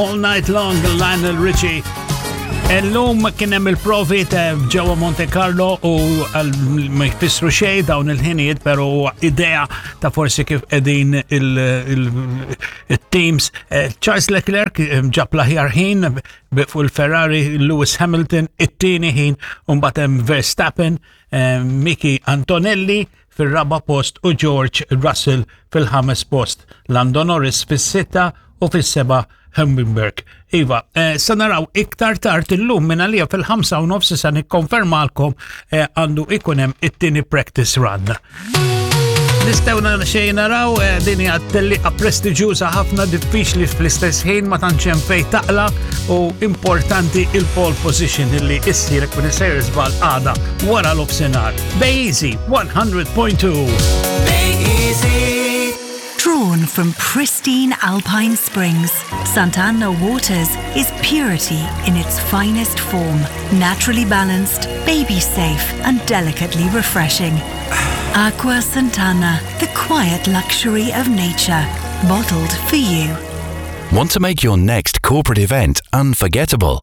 All Night Long, Lionel Richie. Illum kien hemm il-provi ta' ġewwa Monte Carlo u ma jfissru xejn dawn il-ħinijiet, però idea ta' forsi kif qegħdin il-teams. Eh, Charles Leclerc eh, ġab l-aħjar ħin fuq il-Ferrari, Lewis Hamilton it-tieni ħin, u mbagħad hemm Verstappen, eh, Miki Antonelli fir-raba' post u George Russell fil-ħames post, Lando Norris fis-sitta u fis-seba' Hummingbird. Iva, eh, sa naraw iktar tard illum minn għalija fil-5 u nofs sa nikkonfermalkom eh, għandu ikun hemm it-tieni practice run. Nistgħu xejn naraw eh, din hija tellieqa prestiġjuża ħafna diffiċli fl-istess ħin ma tantx hemm fejn taqla u importanti il-pole position illi issir kun isejr żball għada wara l-ofsinhar. Bay Easy 100.2. Bay Easy. Drawn from pristine alpine springs, Sant'Anna Waters is purity in its finest form, naturally balanced, baby safe, and delicately refreshing. Aqua Santana, the quiet luxury of nature, bottled for you. Want to make your next corporate event unforgettable?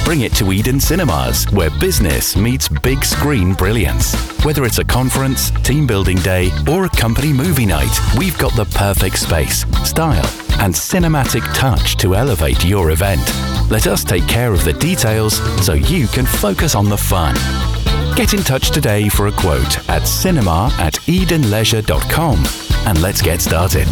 Bring it to Eden Cinemas, where business meets big screen brilliance. Whether it's a conference, team building day, or a company movie night, we've got the perfect space, style, and cinematic touch to elevate your event. Let us take care of the details so you can focus on the fun. Get in touch today for a quote at cinema at edenleisure.com and let's get started.